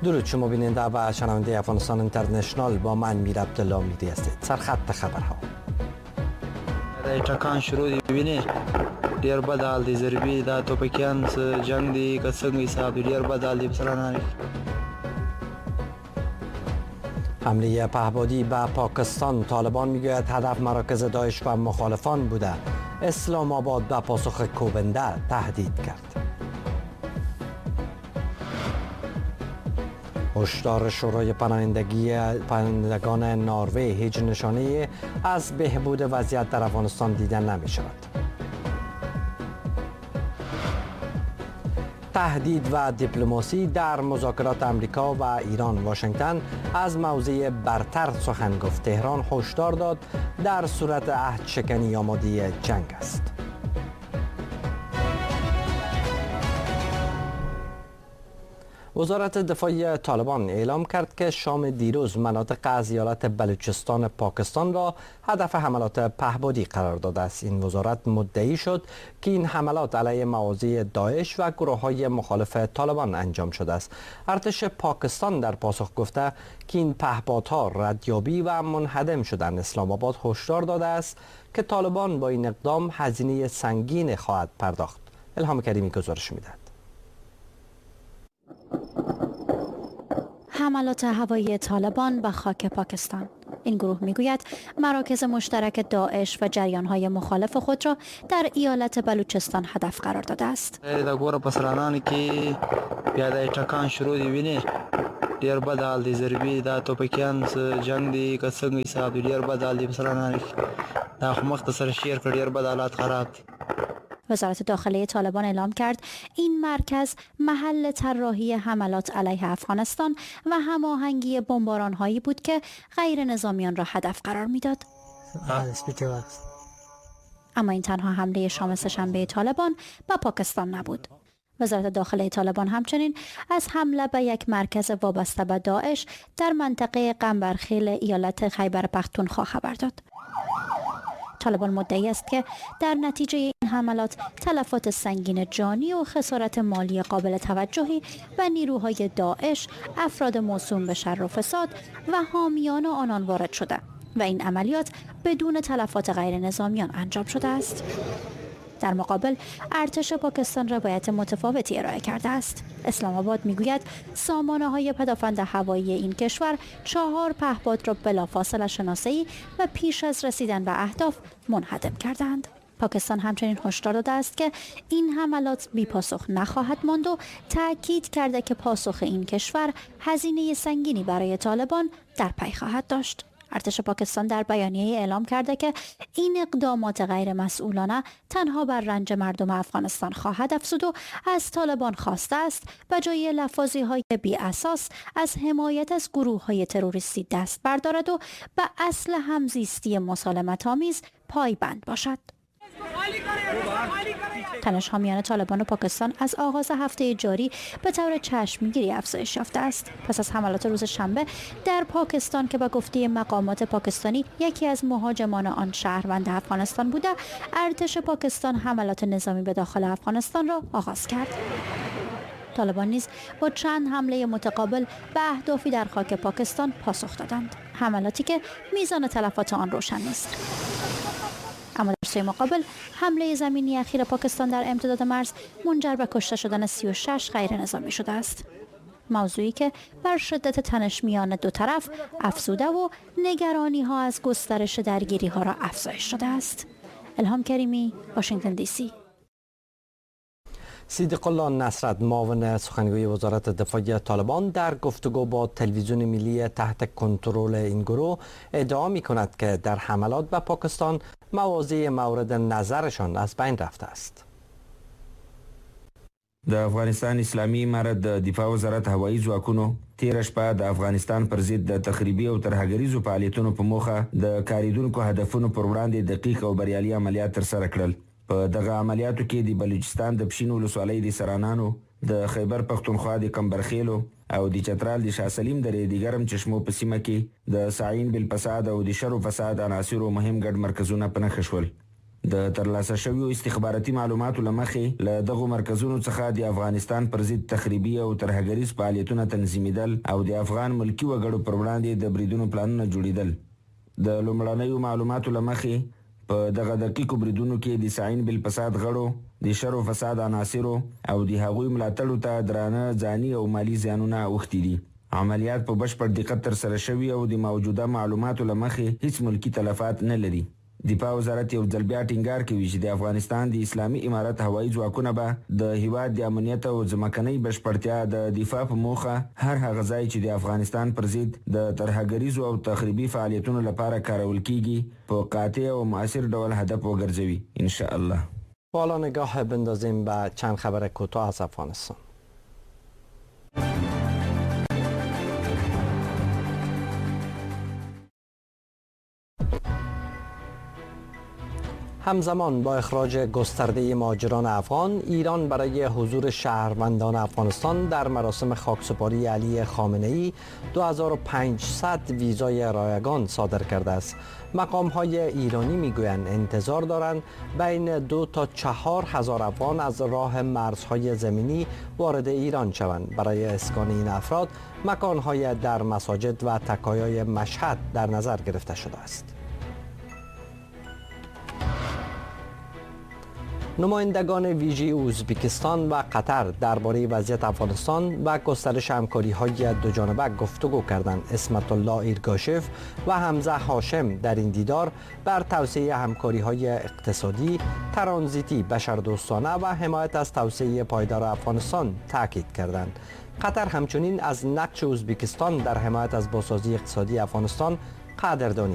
درود شما بیننده و شنونده افغانستان اینترنشنال، با من میر عبدالله میری هستید. سرخط خبرها: ټکان شروع دی، ویني ډیر بد حال دی، ضربي دا توپکیان جنگ دی که څنګه حساب دی، ډیر بد حال دی. مثلا حمله پهپادی به پاکستان، طالبان میگوید هدف مراکز داعش و مخالفان بوده. اسلام آباد به پاسخ کوبنده تهدید کرد. هشدار شورای پناهندگان نروژ، هیچ نشانه از بهبود وضعیت در افغانستان دیده نمی شود. تهدید و دیپلماسی در مذاکرات امریکا و ایران، واشنگتن از موضع برتر سخن گفت. تهران هشدار داد در صورت عهد شکنی آماده جنگ است. وزارت دفاع طالبان اعلام کرد که شام دیروز مناطق از ایالت بلوچستان پاکستان را هدف حملات پهپادی قرار داده است. این وزارت مدعی شد که این حملات علیه مواضع داعش و گروه‌های مخالف طالبان انجام شده است. ارتش پاکستان در پاسخ گفته که این پهپادها ردیابی و منهدم شدند. اسلام آباد هشدار داده است که طالبان با این اقدام هزینه سنگین خواهد پرداخت. الهام کریمی گزارش می‌دهد. حملات هوایی طالبان به خاک پاکستان. این گروه میگوید مراکز مشترک داعش و جریان‌های مخالف خود را در ایالت بلوچستان هدف قرار داده است. دا ګوره په سرانان کې بیا د ټکان شروع دی، ویني ډیر بد حال دی، ضربي دا توپکیان جنگ دی که څنګه حساب دی، ډیر بد حال دی. په سرانان کې دا خو مخ ته سره شیر کړ، ډیر بد حالات خراب دي. وزارت داخله طالبان اعلام کرد این مرکز محل طراحی حملات علیه افغانستان و هماهنگی بمباران‌هایی بود که غیر نظامیان را هدف قرار میداد. اما این تنها حمله شام سه‌شنبه طالبان به پاکستان نبود. وزارت داخله طالبان همچنین از حمله به یک مرکز وابسته به داعش در منطقه قنبرخیل ایالت خیبر پختونخوا خبر داد. طالبان مدعی است که در نتیجه این حملات تلفات سنگین جانی و خسارت مالی قابل توجهی به نیروهای داعش، افراد موسوم به شر و فساد و حامیان آنان وارد شده و این عملیات بدون تلفات غیر نظامیان انجام شده است. در مقابل ارتش پاکستان روایت متفاوتی ارائه کرده است. اسلام آباد میگوید سامانه های پدافند هوایی این کشور 4 پهپاد را بلافاصله شناسایی و پیش از رسیدن به اهداف منهدم کردند. پاکستان همچنین هشدار داده است که این حملات بی پاسخ نخواهد ماند و تاکید کرده که پاسخ این کشور هزینه سنگینی برای طالبان در پی خواهد داشت. ارتش پاکستان در بیانیه اعلام کرده که این اقدامات غیر مسئولانه تنها بر رنج مردم افغانستان خواهد افزود و از طالبان خواسته است به جای لفاظی‌های بی اساس از حمایت از گروه‌های تروریستی دست بردارد و به اصل همزیستی مسالمت‌آمیز پایبند باشد. تنش‌ها میان طالبان و پاکستان از آغاز هفته جاری به طور چشمگیری افزایش یافته است. پس از حملات روز شنبه در پاکستان که به گفته مقامات پاکستانی یکی از مهاجمان آن شهروند افغانستان بوده، ارتش پاکستان حملات نظامی به داخل افغانستان را آغاز کرد. طالبان نیز با چند حمله متقابل به اهدافی در خاک پاکستان پاسخ دادند، حملاتی که میزان تلفات آن روشن نیست. اما در سوی مقابل حمله زمینی اخیر پاکستان در امتداد مرز منجر به کشته شدن 36 غیر نظامی شده است. موضوعی که بر شدت تنش میان دو طرف افزوده و نگرانی ها از گسترش درگیری ها را افزایش داده است. الهام کریمی، واشنگتن دی سی. صدیق الله نصرت، معاون سخنگوی وزارت دفاع طالبان، در گفتگو با تلویزیون ملی تحت کنترل این گروه ادعا می کند که در حملات به پاکستان مواضع مورد نظرشان از بین رفته است. د افغانستان اسلامي امارت د دفاع وزارت هوایي ځواکونو تیره شپه د افغانستان پر ضد د تخریبي او ترهګریزو فعالیتونو په موخه د کارېدونکو هدفونو پر وړاندې دقیق او بریالي عملیات ترسره کړل. په دغه عملیاتو کې د بلوچستان د پشین ولسوالۍ د سرانانو، د خیبر پښتونخوا د کمبرخیلو او د چترال د شاه سلیم درې د ګرم چشمو په سیمه کې د سعین بالفساد او د شر و فساد عناصرو مهم ګډ مرکزونه په نښه شول. د ترلاسه شویو استخباراتي معلوماتو له مخې، له دغو مرکزونو څخه د افغانستان پر ضد تخریبي او ترهګریز فعالیتونه تنظیمېدل او د افغان ملکي وګړو پر وړاندې د بریدونو پلانونه جوړېدل. د لومړنیو معلوماتو له مخې، په دغه دقیقو بریدونو کې د سعین بالفساد غړو، د شر و فساد عناصرو او د هغوی ملاتړو ته درانه ځاني او مالي زیانونه اوښتي دي. عملیات په بشپړ دقت ترسره شوي او د موجوده معلوماتو له مخې هیڅ ملکي تلفات نه لري. دفاع وزارت یو ځل بیا ټینګار کوي چې د افغانستان د اسلامي امارت هوایي ځواکونه به د هیواد د امنیت او ځمکنۍ بشپړتیا د دفاع په موخه هر هغه ځای چې د افغانستان پر ضد د ترهګریزو او تخریبي فعالیتونو لپاره کارول کیږي، په قاطع او مؤثر ډول هدف وګرځوي، ان شاء الله. حالا نگاه بندازیم به چند خبر کوتاه از افغانستان. همزمان با اخراج گسترده مهاجران افغان، ایران برای حضور شهروندان افغانستان در مراسم خاکسپاری علی خامنه‌ای 2500 ویزای رایگان صادر کرده است. مقام‌های ایرانی میگویند انتظار دارند بین 2 تا 4 هزار افغان از راه مرزهای زمینی وارد ایران شوند. برای اسکان این افراد مکان‌های در مساجد و تکایای مشهد در نظر گرفته شده است. نمایندگان ویژه ازبکستان و قطر درباره وضعیت افغانستان و گسترش همکاری‌های دو جانبه گفتگو کردند. عصمت الله ایرگاشف و حمزه هاشم در این دیدار بر توسعه همکاری‌های اقتصادی، ترانزیتی، بشردوستانه و حمایت از توسعه پایدار افغانستان تاکید کردند. قطر همچنین از نقش ازبکستان در حمایت از بازسازی اقتصادی افغانستان قدردانی